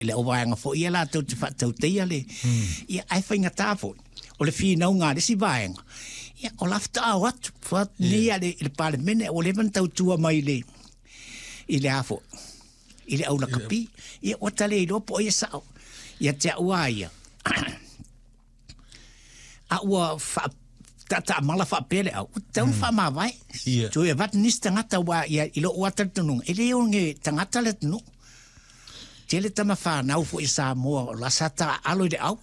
Le au vaega foi ia latou te faatauteia le, ia ae faigata foi o le finauga a le isi vaega, ia o la faatoa o atu nei a le, i le Palemene ua leva ona tautua mai i le, i le a foi, i le au lakapi. Ia ua ta le iloa po o ai e sao. Ia te au lava ia, a ua faa taataamala faapea le au, ua tatau ona faamavae. Toe avatu nisi tagata aua ia i lou lava talitonuga, e le oge tagata le atunuu. Tele tama fanau foi a Samoa o la sa taaalo i le au.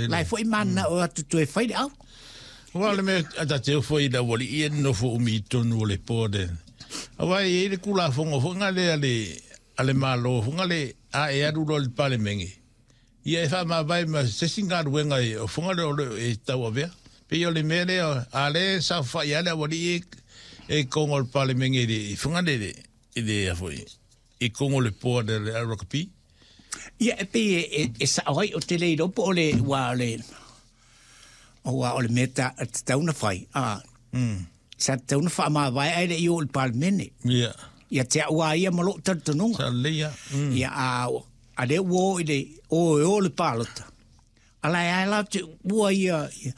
La e foi mananao o atu toe fai le au. Aua o le mea a tatou foi i le aualii e nonofo umi i totonu o le board. Aua e i ai le Tulafono foi lea a le Malo foi lea a e alu loa i le Palemene, ia e faamavae ma se isi galuega o foga lea o lo o e tauavea. Pei o le mea lea, a lea e saofai lava le aualii e i totonu o le Palemene i le foga lea i le a foi, i totonu o le board a le rugby. Ia, e pei e, e sao ai, ou te le iloa po o le, ua o le, aua o le mea ta, tatau ona fai, a, sa tatau ona faamavae ae le i oo i le Palemene. Ia. Ia te au a ia ma lou talitonuga. Sa lelei lava. Ia, a, a lea ua oo i le, o e o le palota, ala e ae la te ua ia, ia,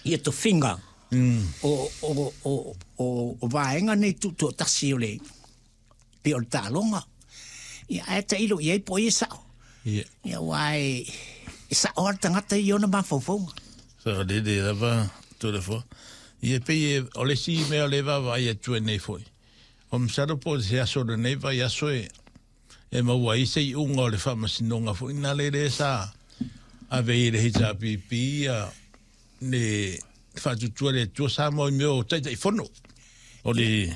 ia tofiga o, o, o, o, o vaega nei tutoatasi o le, pei o le taaloga. Ia, ae tailo i ai po o ai e sao. Ia. Ia, aua e, e sao lava le tagata i ona mafaufauga. Saolele lava Toleafoa. Ia, pei e, o le isi mea o lea e vaavaai atu ai nei foi, o masalo po o se aso o lenei vaiaso e, e maua ai se iuga o le faamasinoga foi na le lea sa ave ai e le HRPP ia le faatuatua i le Atua Samoa i mea o Taitaifono o le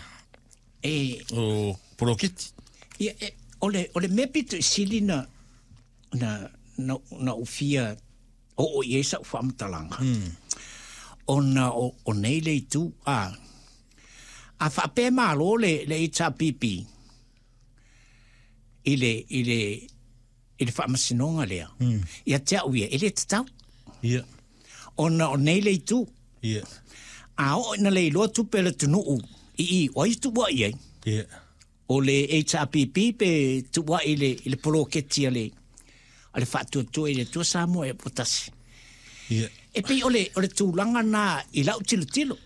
E o poloketi. Ia, e, o le, o le mea pito i sili na, na, na, na ou fia oo i ai sa'u faamatalaga, ona o, o nei le itu, a, a faapea e malo le, le HRPP i le, i le, i le faamasinoga lea, ia te au ia, e le tatau. Ia. Ona o nei le itu. Ia. A oo ina le iloa tupe a le atunuu i i, o ai e tuuai ai? Ia. O le HRPP pe tuuai i le, i le poloketi a le, a le Faatuatua i le Atua Samoa e Tasi. Ia. E pei o le, o le tulaga na i lau tilotilo.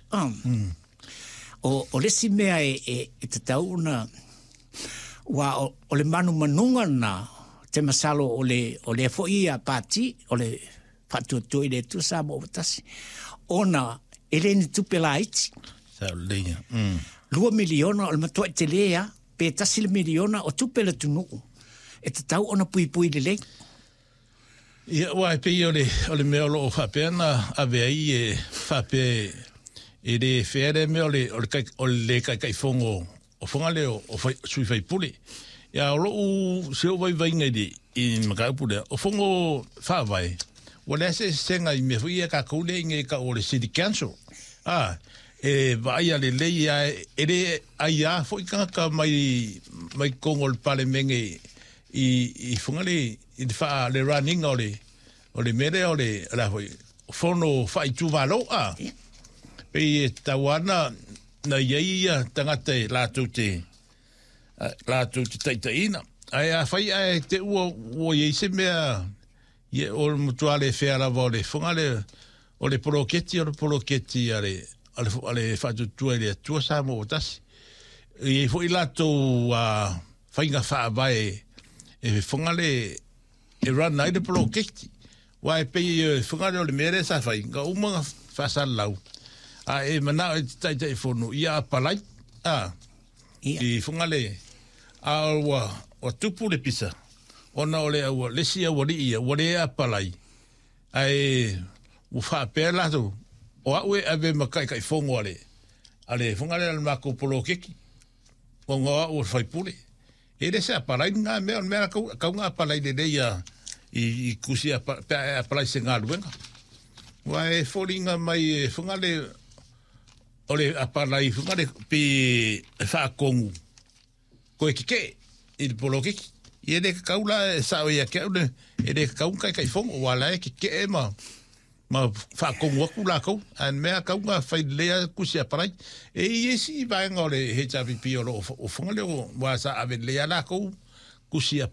O, o le isi mea e, e, e tatau ona, ua o, o le manumanuga na, te masalo o le, o lea foi ia pati, o le Faatuatua i le Atua Samoa ua tasi, ona e le ni tupe laiti. Sao lelei ia. $2 miliona o le matuai telē lava, pe $1 miliona o tupe a le atunuu e tatau ona puipui lelei. Ia, aua e pei o le, o le mea o lo o faapea na ave ai e faapea e le fair lea mea o le, o le, o le le taitaifono o Fugalei o sui faipule. Ia, o lou, si ou vaivaiga i le, i le mataupu lea, o fono faavae, ua leai se eseesega i mea foi ia a tatou lea i inei e tau o le City Council. A, e vaaia lelei lava, e le aia foi tagata mai, mai totonu o le Palemene i, i Fugalei i le faa, le run ina o le, o le mea lea o le, o le a foi, fono faaitumalo, a. Pei e tatau lava ona na i ai ia tagata e latou te, latou te taitaiina. Ae afai ae te ua, ua i ai se mea, ia, o le matua le fair lava o le foga le, o le poloketi, o le poloketi a le, a le, a le Faatuatua i le Atua Samoa ua tasi. E i ai foi latou faiga faavae e foga le, e run ai le poloketi. Aua e pei e whanga lea o le mea lea sa whai, nga uma nga whaasalalau, a e manao e te Taitaifono ia apalai, a, Ia. i Fugalei, a ua, ua tupu le pisa, ona o le aua, le isi aualii ia, ua le apalai, ae ua faapea latou, o au e ave ma Taitaifono a le, a le Fugalei a le matou poloketi, ona o au o le faipule. E le se apalai lena mea, o le mea kau, kau na apalai lelei ia i, i kusi apa, pe a e apalai se galuega. Ua e foliga mai e Fugale o le apalai Fugale pe e faatonu koe keke'e i le poloketi. Ia e le tatau la e sao ia te au le, e le tatau ona taitaifono aua la e keke'e ma ma faatonu atu latou, ae mea tau na fai lelei lava tusi apalai. E i ai isi vaega o le HRPP o lo o fofoga lea ua sa ave lelei lava latou. Tusi